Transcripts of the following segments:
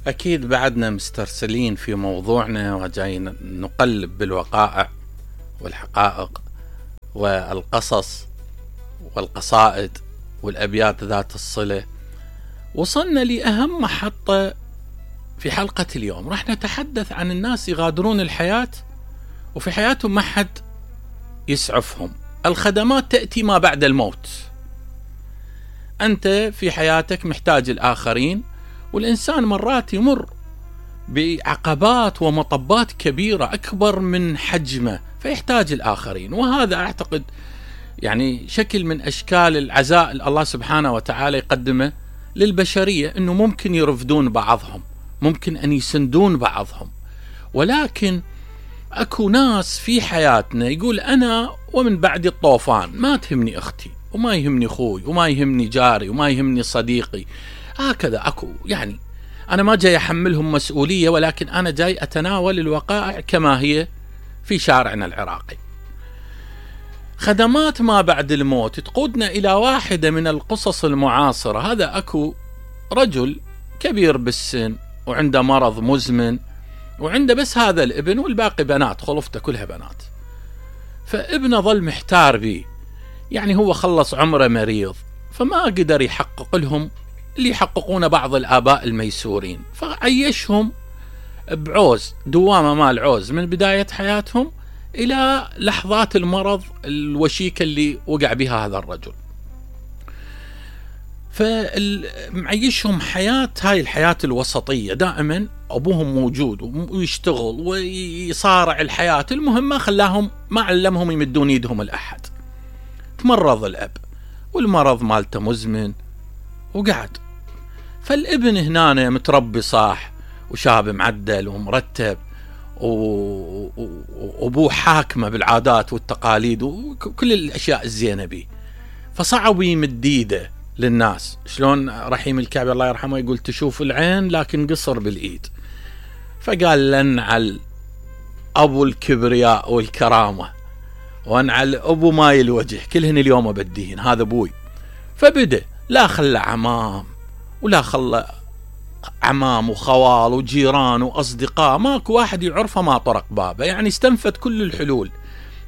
أكيد بعدنا مسترسلين في موضوعنا وجايين نقلب بالوقائع والحقائق والقصص والقصائد والأبيات ذات الصلة. وصلنا لأهم محطة في حلقة اليوم. راح نتحدث عن الناس يغادرون الحياة وفي حياتهم ما حد يسعفهم. الخدمات تأتي ما بعد الموت. أنت في حياتك محتاج الآخرين، والإنسان مرات يمر بعقبات ومطبات كبيرة أكبر من حجمه فيحتاج الآخرين، وهذا أعتقد يعني شكل من أشكال العزاء الله سبحانه وتعالى يقدمه للبشرية، أنه ممكن يرفدون بعضهم، ممكن أن يسندون بعضهم. ولكن أكو ناس في حياتنا يقول أنا ومن بعد الطوفان ما تهمني أختي وما يهمني أخوي وما يهمني جاري وما يهمني صديقي. هكذا أكو، يعني أنا ما جاي أحملهم مسؤولية، ولكن أنا جاي أتناول الوقائع كما هي في شارعنا العراقي. خدمات ما بعد الموت تقودنا إلى واحدة من القصص المعاصرة. هذا أكو رجل كبير بالسن وعنده مرض مزمن، وعنده بس هذا الابن والباقي بنات، خلفته كلها بنات. فابنه ظل محتار بيه، يعني هو خلص عمره مريض فما قدر يحقق لهم اللي يحققون بعض الآباء الميسورين، فعيشهم بعوز، دوامة مال عوز من بداية حياتهم إلى لحظات المرض الوشيكة اللي وقع بها هذا الرجل. فمعيشهم حياة، هاي الحياة الوسطية، دائما أبوهم موجود ويشتغل ويصارع الحياة. المهم ما علمهم يمدون يدهم الأحد. تمرض الأب والمرض مالته مزمن وقعد. فالابن هنا متربي صاح وشاب معدل ومرتب، وأبوه حاكمه بالعادات والتقاليد وكل الأشياء الزينة بيه، فصعب يمد ايده للناس. شلون رحيم الكعبي الله يرحمه يقول تشوف العين لكن قصر بالإيد. فقال لنعل أبو الكبرياء والكرامة وانعل أبو ماي الوجه، كلهن اليوم بديهن، هذا أبوي. فبدأ لا خلى عمام ولا خلى عمام وخوال وجيران وأصدقاء، ماكو واحد يعرفه ما طرق بابه، يعني استنفد كل الحلول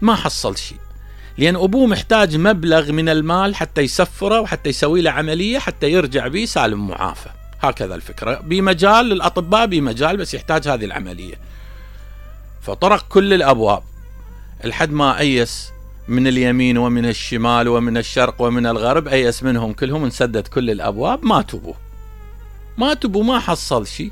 ما حصل شيء، لأن أبوه محتاج مبلغ من المال حتى يسفره وحتى يسوي له عملية حتى يرجع به سالم معافى. هكذا الفكرة، بمجال للأطباء بمجال، بس يحتاج هذه العملية. فطرق كل الأبواب لحد ما أيس من اليمين ومن الشمال ومن الشرق ومن الغرب، أيس منهم كلهم، انسدت كل الأبواب، ما تبوا ما حصل شيء.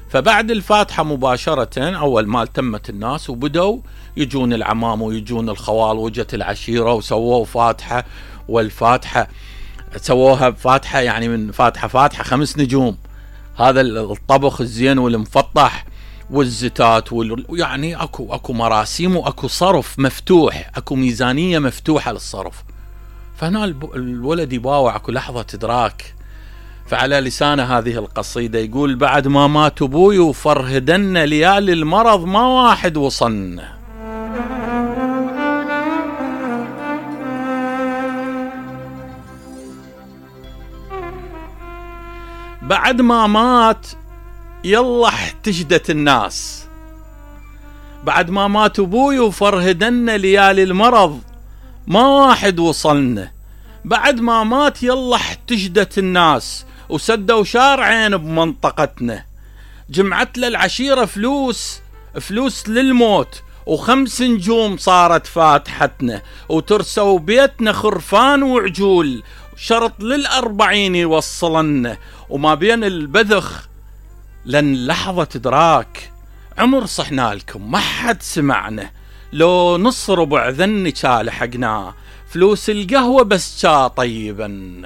فبعد الفاتحة مباشرة أول ما التمت الناس وبدوا يجون العمام ويجون الخوال، وجت العشيرة وسووا فاتحة، والفاتحة سووها بفاتحة يعني من فاتحة 5 نجوم، هذا الطبخ الزين والمفطح والزتات يعني أكو مراسيم وأكو صرف مفتوح، أكو ميزانية مفتوحة للصرف. فهنا الولد يباوع، أكو لحظة إدراك. فعلى لسان هذه القصيدة يقول بعد ما مات أبوي وفرهدن ليالي المرض ما واحد وصلنا. بعد ما مات يلا احتجدت الناس. بعد ما مات أبوي وفرهدن ليالي المرض ما واحد وصلنا. بعد ما مات يلا احتجدت الناس وسدوا شارعين بمنطقتنا. جمعت للعشيرة فلوس للموت، و5 نجوم صارت فاتحتنا، وترسوا بيتنا خرفان وعجول، شرط لل40 يوصلنا. وما بين البذخ لن لحظة إدراك، عمر صحنا لكم ما حد سمعنا، لو نص ربع ذني لحقناه، فلوس القهوة بس طيبا.